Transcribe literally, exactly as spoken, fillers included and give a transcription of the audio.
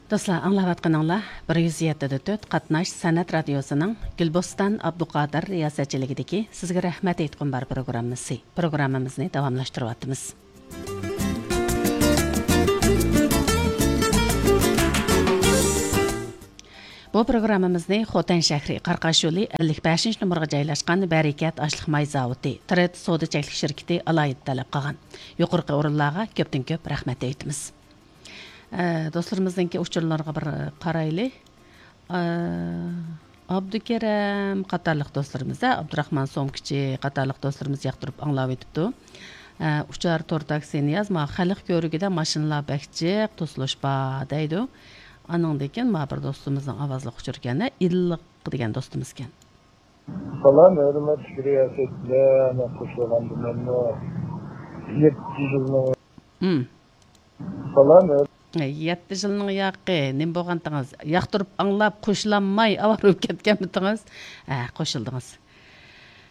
دوستلار، ئاڭلاۋاتقىنىڭلار بىر يۈز يەتتە دە تۆت قاتناش سەنئەت رادىيوسىنىڭ گۈلبوستان ئابدۇقادىر رىياسەتچىلىكىدىكى سىزگە رەھمەت ئېيتقۇم بار پروگراممىسى. پروگراممىمىزنى داۋاملاشتۇرۇۋاتىمىز. بۇ پروگراممىمىزنى خوتەن شەھىرى قاراقاش يولى ئەللىك بەشىنچى نومۇرغا جايلاشقان بەرىكەت ئاشلىق ماي زاۋۇتى، ترېد سودا چەكلىك شىركىتى ئالاھىدە تەلەپ قىلغان. يۇقىرىقى ئورۇنلارغا كۆپتىن كۆپ رەھمەت ئېيتىمىز. ئە، دوستلىرىمىزنىڭكى ئۇچۇرلىرىغا بىر قارايلى. ئە، ئابدۇكېرەم قاتارلىق دوستلىرىمىز، ئابدۇراخمان سومكىچى قاتارلىق دوستلىرىمىز ياقتۇرۇپ ئاڭلاۋېتىپتۇ. ئە، ئۇچار تور تاكسى نىياز، ما خەلق كۆرۈكىدە ماشىنىلار بەك جىق توسۇلۇش بار دەيدۇ. ئانىڭدىن كېيىن ما بىر دوستىمىزنىڭ ئاۋازلىق ئۇچۇركەن، ئىللىق دېگەن دوستىمىزكەن. سالام، ھۆرمەتلىك رىياسەتچىلەر، مەن قوشۇلغاندىمەنمۇ؟ يەتتە يىلنىڭ. ھىم. سالام، ھۆر- يەتتە يىلنىڭ ياقى، نېمە بولغانتىڭىز؟ ياقتۇرۇپ ئاڭلاپ، قوشۇلالماي ئاۋارە بولۇپ كەتكەنمىتىڭىز؟ ھە، قوشۇلدىڭىز.